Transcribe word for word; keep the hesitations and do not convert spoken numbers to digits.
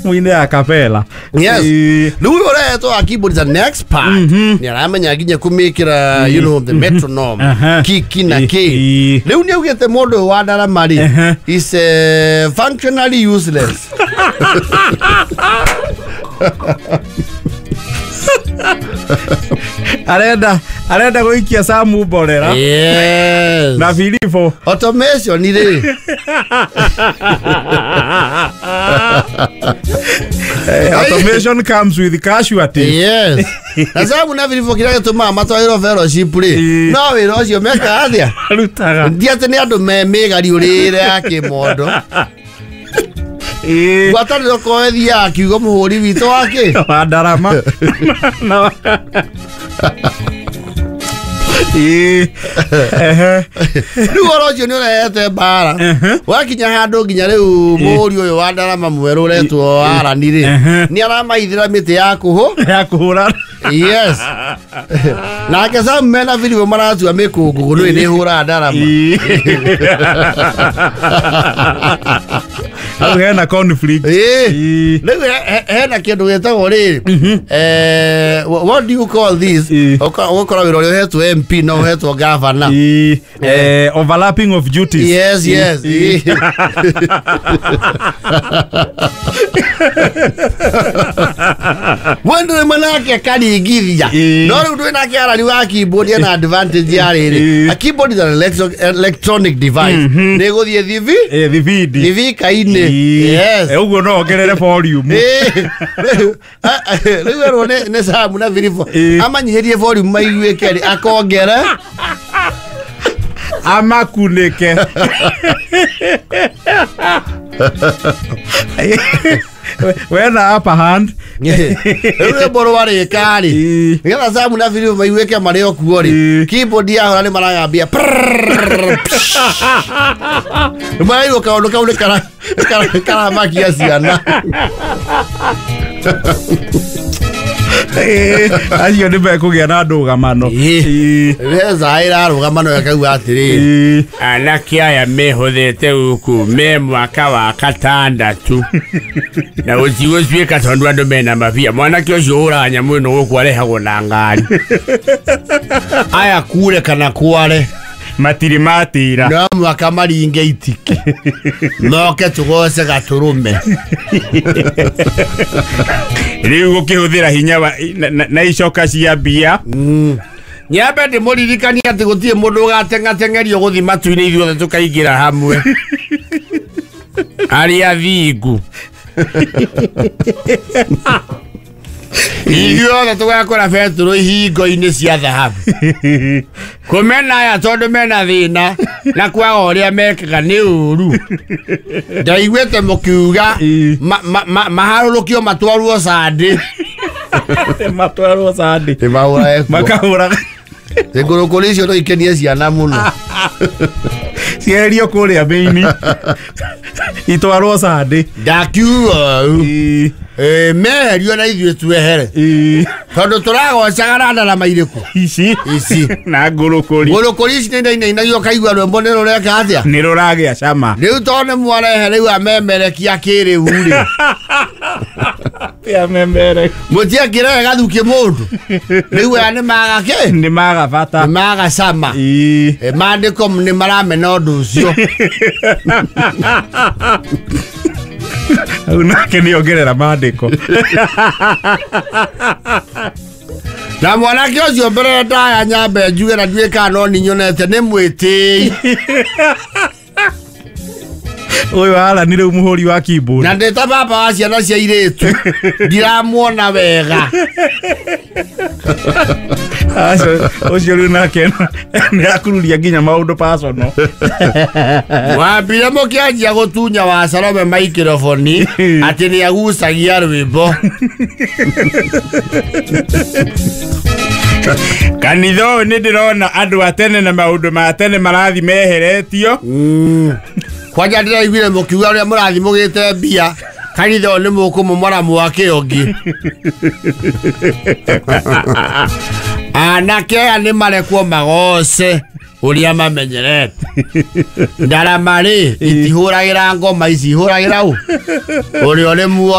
Muine a cappella. Yes. Rĩu ũyũ ũrehetwo wa keyboard is an expert. Nĩ aramenya nginya kũmĩkĩra, you know, the metronome. Aha. Kiki na Ĩ- kĩ. ĩ. Rĩu nĩ augĩte mũndũ ũyũ wa ndarama rĩ Aha. is eh, functionally useless. Arenda arenda gũikia Samu mborera Yes. na Filipo. Automation rĩ. Eh, automation comes with casualties. Yes. Na Samu na Filipo kĩrĩa gĩtũmaga matwarĩrwo fellowship rĩ Ĩ. no wĩra ũcio mekaga atĩa? Arutaga. Ti atĩ nĩ andũ me mĩgariũrĩre ya kĩmondo. Ĩ. Ngwatanĩro ko ĩthiaga kiugo mũhũri witũ wa kĩ? Wa ndarama. Na Ĩ. Ehe. Rĩu ũhoro ũcio nĩ ũrehete mbara. Wakinya handũ nginya rĩu mũhũri ũyũ wa ndarama mwerũ ũretwo Arani rĩ Ehe. nĩ aramaithĩra mĩtĩ ya kũhũ. Ya kũhũra. Yes. Nake Sam mena Filipo maratua mĩkũngũgũ nĩ nĩ hũraga ndarama. Ĩ. Hau hena conflict. Ĩ. Ĩ. Rĩu he- he- hena kĩndũ gĩtagwo rĩrĩ eh, wha- what do you call this? Ĩ. Ũka- ũgakora wĩra ũrĩa ũhetwo M P no ũhetwo governor. Ĩ. Eh, overlapping of duties. Yes, yes. Ĩ. Mũndũ rĩmwe nake akaringithia. Ĩ. No rĩu ndwĩ nake Arani wa keyboard ena advantage ya rĩrĩ. Ĩ. A keyboard is an electro- electronic device. Nĩ ĩgũthiĩ thibi Eh, thibindi. thibika-inĩ. Ĩ. Yes. Eh, ũguo no ongerere volume. Ĩ. Rĩu rĩu erwo nĩ nĩ Samu na Filipo Ĩ. amanyihĩrie volume maiguĩke rĩ akongere Amakunĩke. Wena upper hand. Rĩu rwĩmbo rwarĩka rĩ Ĩ. nĩgetha Samu na Filipo maiguĩke marĩ o kuo rĩ Ĩ. keyboard yahũra nĩ maragambia maraigua kaũndũ kau nĩ kara- kara- karamakia ciana. Ĩ, acio nĩ mekũgĩa na ndũgamano. Ĩ. Ĩ. Mbeca ĩrarũgama no ĩkauga atĩrĩrĩ Ĩ. Anake aya mehũthĩte gũkũ me mwaka wa gatandatũ na gũtigũtuĩka tondũ andũ mena mabia. Mwanake ũcio ũhũraga nyamũ ĩno gũkũ arehagwo na ngari. Aya kure kana kware matirĩ matĩra. No mwaka maringe itiki moke tũgoce gatũrũme. Rĩu gũkĩhũthĩra hinya wa na, na, na icoka cia mbia. Nyambe ndĩmũririkanie atĩ gũtirĩ mũndũ ũgateng'ateng'erio gũthiĩ matu-inĩ ithuothe tũkaingĩra hamwe. Arĩa thingu Ithuothe tũgakora betũrũ ihingo-inĩ cia thahabu. Kũmena aya tondũ mena thĩna na kwaga ũrĩa mekaga nĩ ũru. Ndaiguĩte mũkiuga Ĩ. ma- ma- ma- maharũrũkio matwarwo candĩ. Matwarwo candĩ. Nĩ Makahũra ngũrũkũri icio no ikenie ciana mũno. Cieherio kũrĩa mĩini itwarwo candĩ. Ndakiuga ũũ. Ĩ. Ĩ, meherio na ithuĩ twehere. Ĩ. Tondũ tũragocaga na ndarama irĩkũ? Ici. Ici. Na ngũrũkũri. Ngũrũkũri ici nĩ inainainagio ũkaigua rwĩmbo nĩ rũreka atĩa? Nĩ rũragĩa cama. Rĩu tondũ nĩ mwarehe rĩu amemerekia kĩrĩu rĩ. Amemere. Mũtiakĩrehe gathuki mũndũ. Rĩu aya nĩ maga kĩ? Nĩ maga bata. Nĩ maga cama. Ĩ. Ĩ, maandĩko nĩ maramena ũndũ ũcio. Hau nake nĩ ongerera maandĩko. Na mwanake ũcio mbere ndaya nyambe njuge na nduĩke kana no ninyonete nĩ mwĩtĩi. Ũyũ Arani rĩu mũhũri wa keyboard. Na ndĩ ta baba wa ciana cia airĩtu ndiramuona wega. Acio ũcio rĩu nake nĩ akururia nginya maũndũ personal. Wambire mũkĩanjia gũtunya wa Salome maikrofoni atĩ nĩ agucagia rwĩmbo. Kanitha ũyũ nĩ ndĩrona andũ a tene na maũndũ ma tene marathi meheretio. Kwanja ndĩraiguire mũkiuga ũrĩa mũrathi mũgĩte mbia kanitha ũyũ nĩ mũkũmomora mwake ũngĩ. Anake aya nĩ marekwo magoce ũrĩa mamenyerete. Ndarama rĩ itihũragĩra ngoma ici ihũragĩra ũ ũrĩa ũrĩ muoyo.